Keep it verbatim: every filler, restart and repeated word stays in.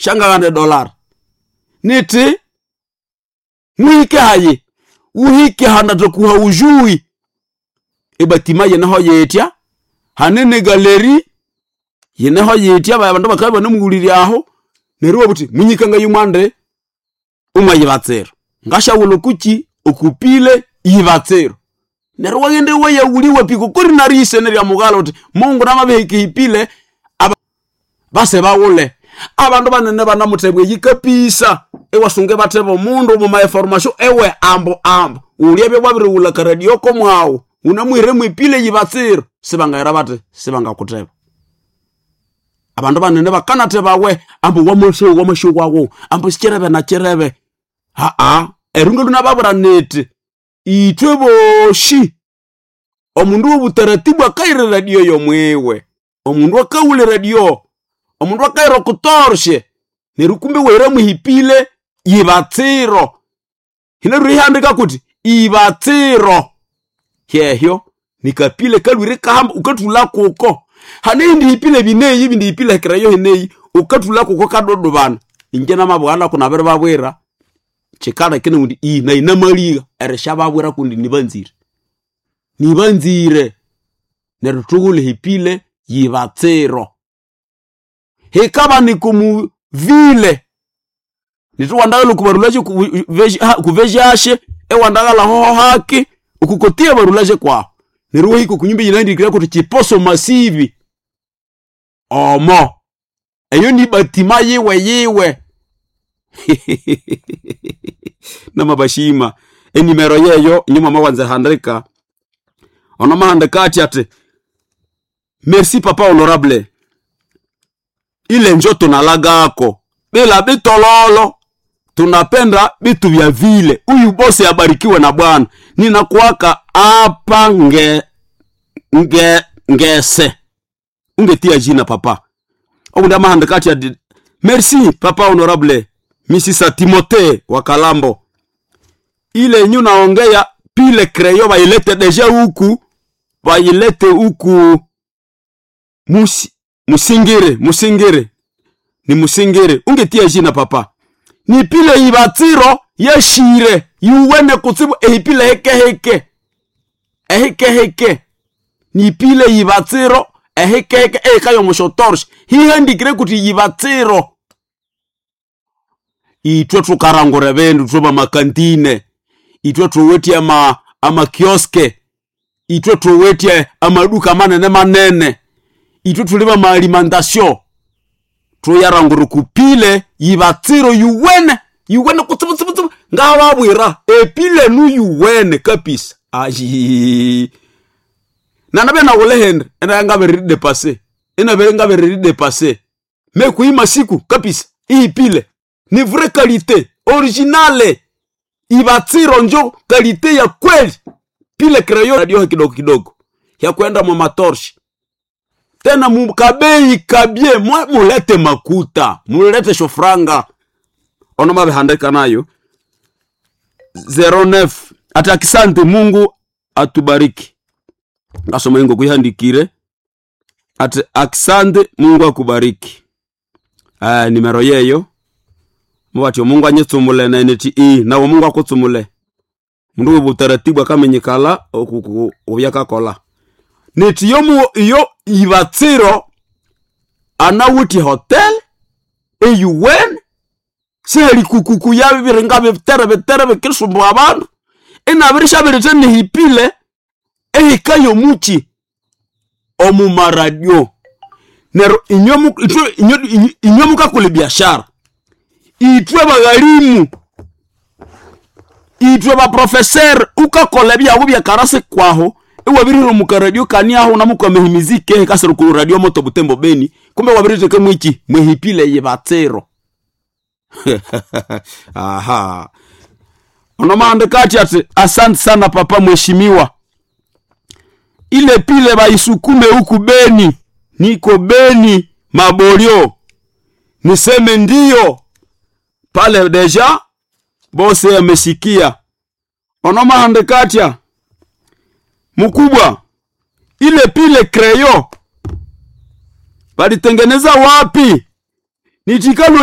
Shangagande dollar. Niti muhike haye. Uhike handa tokuha ujui. Ebatima yeneho yetya. Hanene galeri yeneho yetya abandu bakaba banemugulirya aho. Neryo buti munyikanga yumwande umwayibatsero. Ngashawulo kuchi okupile yibatsero. Neryo wagende wayawuliwa piko kuri narise nerya mugalo uti Mungu namabehike ipile aba base bawule. Abandu banene banamuthebwe yikapisa. Ewasunge batheba omundu omu ma information ewe ambo ambo. Ulyabya bwabiriwula karadio ko mwawu. Unamwire mwipile yibatsiro. Sibangayira bate sibangakutheba. Abandu banene bakanathebawe ambo wamasho wamasho wawo. Ambo sikyerebe na kyerebe. Ha a erunga lunababura neti. Itwe boshi. Omundu w'obutaratibu akaira radio yomwewe. Omundu akawula radio. Omundu akaira okutorshe. Neryo kumbe wera muhipile yibatsiro. Hino rihandika kuti ibatsiro. Hyehyo nikapile kalwire kahamba ukathula kuko. Hane ndihipile bineyi bindihipile kirayo hineyi ukathula kuko kadodobana. Inje namabwana kunabere babwira. Chikala kene undi i na inamaliga erisha babwira kundi nibanzire. Nibanzire. Neryo tugule hipile yibatsiro. Hikaba nikumu vile. Nituwandagala kubarulaje kuvejashe ewandagala hoho haki ukukotia barulaje kwa. Neryo hiko kunyumba yinandikira kuti chiposo masivi. Omo. Eyo ni batima yiwe yiwe. Namabashima enimero yeyo nyuma mawanze handika. Ono mahandika ati ati merci papa honorable. Ile njo tunalagako bila bitololo tunapenda bitu vya vile. Uyu bosi abarikiwe na Bwana. Ninakuaka hapa nge, nge, ngese. Ungetia jina papa. Obu mahandika ati ati merci papa honorable Misisa Timothée wa Kalambo. Ile nyu naongea pile kreyo bailete deja huku, bailete huku musi, musingire, musingire. Ni musingire. Ungetia jina papa. Ni pile ibatiro yeshire yuwene kutsibu ehipile heke heke. Eheke heke. Ni pile ibatiro eheke heke ekayo mushotorsh. Hihandikire kuti ibatiro. Itwe tukarangure bendu tuba makantine. Itwe tuwetie ama, ama kioske. Itwe tuwetie amaduka manene manene. Itwe tuliba ma alimentation. Tuyarangure kupile yibatsiro yuwene. Yuwene kutsibu tsibu tsibu. Ngawabwira epile nu yuwene kabisa. Ayi. Nanabe na wole hendre ena ngabe dépasser. Ena be ngabe dépasser. Mais kuima siku kabisa. Ipile ni vraie qualité originale. Ibatsiro njo qualité ya kweli. Pile crayon radio kidogo kidogo ya kwenda mu matorche. Tena mukabei kabie mwe mulete makuta, mulete shofranga. Ono mabe handika nayo zero nine ati akisante Mungu atubariki. Ngasoma ingo kuihandikire ati akisante Mungu akubariki. Ah, nimero yeyo mwatyo Mungu anyetsumule na neti i nawo Mungu akutsumule. Mundu utaratibu akamenyekala obyakakola. Neti yo mu iyo ibatsiro anawuti hotel eyuwen seheli kukuku ya birenga bitere bitere bikisumbu abantu inabirisha birite nihipile ehikayo muchi omu maradio. Nero inyo itwe inyo inyo mukakule biashara itwe bagalimu itwe ba professeur ukakola byago bya karase kwaho ewabiriro mu radio kani aho namuka mehimizike kasero ku radio moto Butembo Beni kumbe wabirite mwiki mwehipile yebatsero. Aha. Ono maandika ati asante sana papa mheshimiwa. Ile pile baisukume huku Beni. Niko Beni Mabolio. Niseme ndio. Pale deja bose amesikia. Ono maandika mkubwa ile pile kreyo balitengeneza wapi? Nitikalo